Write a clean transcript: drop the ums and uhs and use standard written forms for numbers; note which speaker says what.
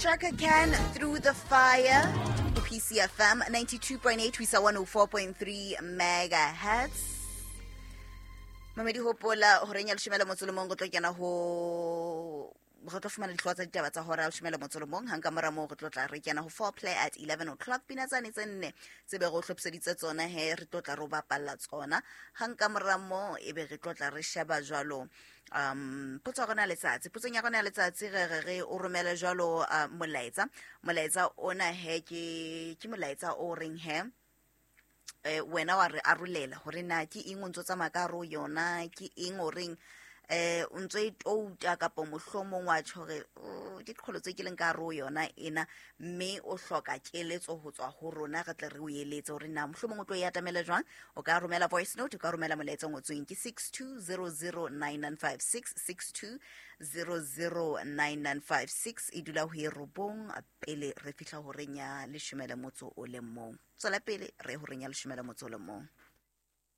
Speaker 1: Chaka Can Through the Fire, PCFM 92.8 ho isa 104.3 megahertz. Mamedi, hopola horeng ya leshome le motso le mong re tlo kena ho re tlo fumana dihlooho tsa ditaba tsa hora ya leshome le motso le mong. Hang ka mora moo re tlo tla re kena ho four play at 11 o'clock. Pina tsane tse nne tse be re o hlophiseditse tsona he re tlo tla re o bapalla tsona. Hang ka mora moo e be re tlo tla re sheba jwalo potso ya rona ya letsatsi. Potsong ya rona ya letsatsi re re re o romele jwalo molaetsa. Molaetsa ona he ke molaetsa o reng he wena wa re arolela hore na ke eng o ntso tsamaya ka hare ho yona, ke eng o reng o ntso e touta kapa mohlomong wa tjho hore, oh, ke qholo tse ke leng ka hare ho yona ena, mme o hloka keletso ho tswa ho rona, re tle re o eletse hore na mohlomong o tlo e atamela jwang. O ka romela voice note, o ka romela molaetsa o ngotsweng ke 62009956, 62009956. E dula ho e robong pele re fihla horeng ya leshome le motso o le mong. Tswela pele re horeng ya leshome le motso o le mong.